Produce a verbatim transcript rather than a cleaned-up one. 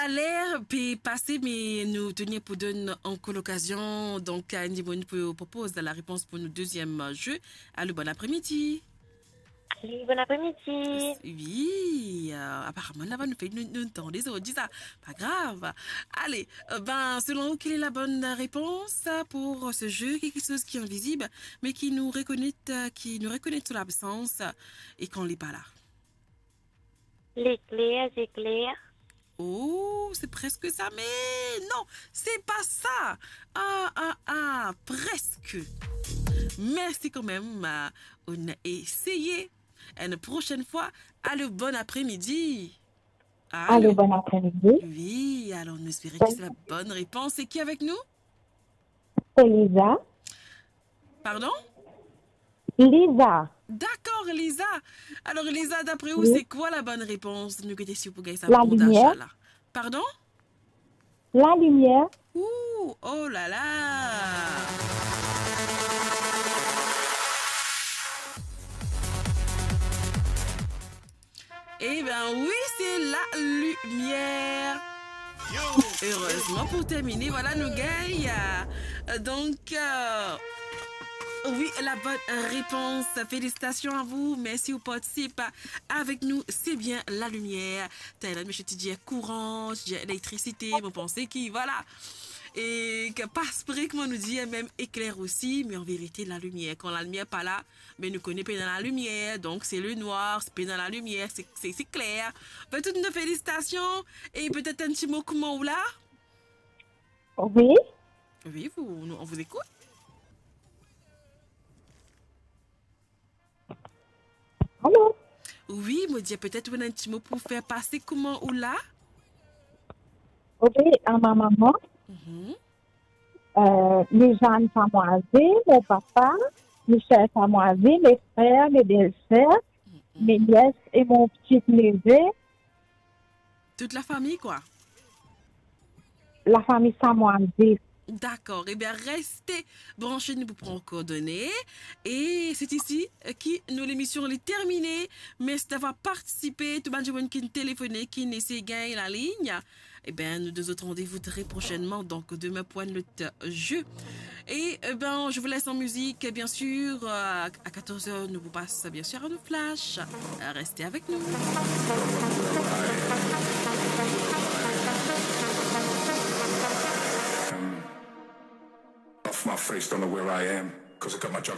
Ler pe pase, me nou touzour pou donn ankor lokazion, donk, a enn dimoun pou propoz larepons pou nou deziem ze. Alo, bon apremidi. Alo, bon apremidi. Wi, euh, aparaman, laba nou fer, nou, nou tande sa, nou dir sa. Pa grav. Ale, euh, ben, selon ou, quelle est la bonne réponse pour ce jeu? Quelque chose qui est invisible, mais qui nous reconnaît, euh, qui nous reconnaît son absence, euh, et quand on n'est pas là. Lekler, zekler. Oh, c'est presque ça, mais non, c'est pas ça. Ah, ah, ah, presque. Merci quand même, euh, on a essayé. Une prochaine fois, allô, bon après-midi. Allô, bon après-midi. Oui, alors nous espérons que c'est la bonne réponse. C'est qui avec nous? C'est Lisa. Pardon? Lisa. D'accord, Lisa. Alors, Lisa, d'après vous, c'est quoi la bonne réponse? Nou gete si ou pou gagn sa. La lumière. Pardon? La lumière. Ouh, oh là là. Eh ben oui, c'est la lumière. Heureusement, pour terminer, voilà, nou gagn. Euh, donc, euh, oui, la bonne réponse. Félicitations à vous. Merci ou partisip avec nous. C'est bien la lumière. Thaïlande, monsieur, ti dir kouran, ti dir elektrisite, mo panse ki, voilà. E ki pa espre, kouma nou dir, mem ekler osi, me an verite, la lumière. Kan la lumière pa la, me nou kone pena la lumière, donc c'est le noir, c'est pena la lumière, c'est, c'est, c'est clair. Ben, toutes nos félicitations, et peut-être un petit mot, comment ou la? Oui. Oui, vous, nous, on vous écoute. Alo? Wi, mo dir, petet ou ena enn ti mo pou fer pase, kouma ou la? Wi, a ma maman, Mhm. euh, les jeunes demoiselles, mon papa, mes chères demoiselles, mes frères, mes belles-sœurs, Mhm. mes nièces et mon petit-neveu. Toute la famille, quoi. La famille Samoise. D'accord. Eh bien, restez branchés, nou pou pran coordonnées. Et c'est ici, euh, que nous, l'émission, elle est terminée. Merci d'avoir participé. Tout bann dimoun ki telefone, ki esey gagn la ligne. Eh bien, nous deux autres rendez-vous très prochainement, donc demain pour un autre jeu. Et, eh ben, je vous laisse en musique, bien sûr. Euh, à quatorze heures, nou pou pas, bien sûr, à nos flashs. Euh, restez avec nous. Off my face, don't know where I am, 'cause I got my job